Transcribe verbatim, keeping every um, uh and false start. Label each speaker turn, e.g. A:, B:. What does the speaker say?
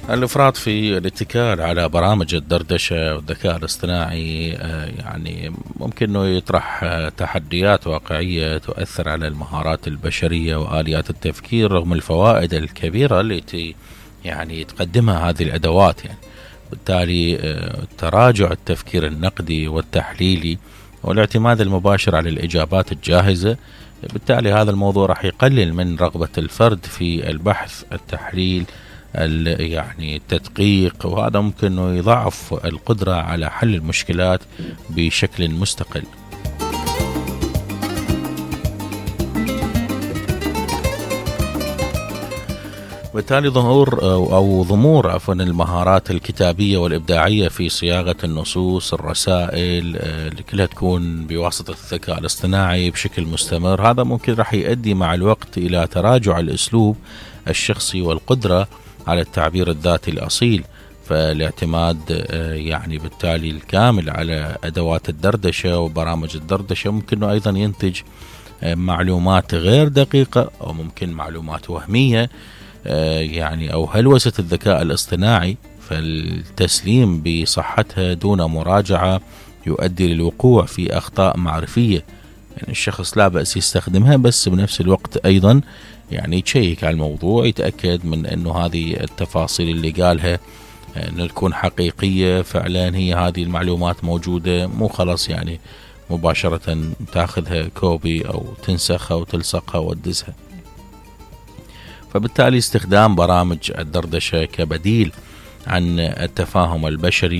A: الإفراط في الاتكال على برامج الدردشة والذكاء الاصطناعي يعني ممكن أنه يطرح تحديات واقعية تؤثر على المهارات البشرية وآليات التفكير رغم الفوائد الكبيرة التي يعني تقدمها هذه الأدوات. يعني بالتالي تراجع التفكير النقدي والتحليلي والاعتماد المباشر على الإجابات الجاهزة، بالتالي هذا الموضوع راح يقلل من رغبة الفرد في البحث التحليل يعني التدقيق، وهذا ممكن أنه يضعف القدرة على حل المشكلات بشكل مستقل. بالتالي ظهور أو ضمور عفوا المهارات الكتابية والإبداعية في صياغة النصوص الرسائل اللي كلها تكون بواسطة الذكاء الاصطناعي بشكل مستمر، هذا ممكن راح يؤدي مع الوقت إلى تراجع الأسلوب الشخصي والقدرة على التعبير الذاتي الأصيل. فالاعتماد يعني بالتالي الكامل على أدوات الدردشة وبرامج الدردشة ممكن أيضا ينتج معلومات غير دقيقة أو ممكن معلومات وهمية يعني أو هلوسة الذكاء الاصطناعي، فالتسليم بصحتها دون مراجعة يؤدي للوقوع في أخطاء معرفية. يعني الشخص لا بأس يستخدمها، بس بنفس الوقت أيضا يعني يتشيك على الموضوع، يتأكد من أنه هذه التفاصيل اللي قالها أن تكون حقيقية فعلا، هي هذه المعلومات موجودة، مو خلاص يعني مباشرة تاخذها كوبي أو تنسخها وتلصقها وتدزها. فبالتالي استخدام برامج الدردشة كبديل عن التفاهم البشري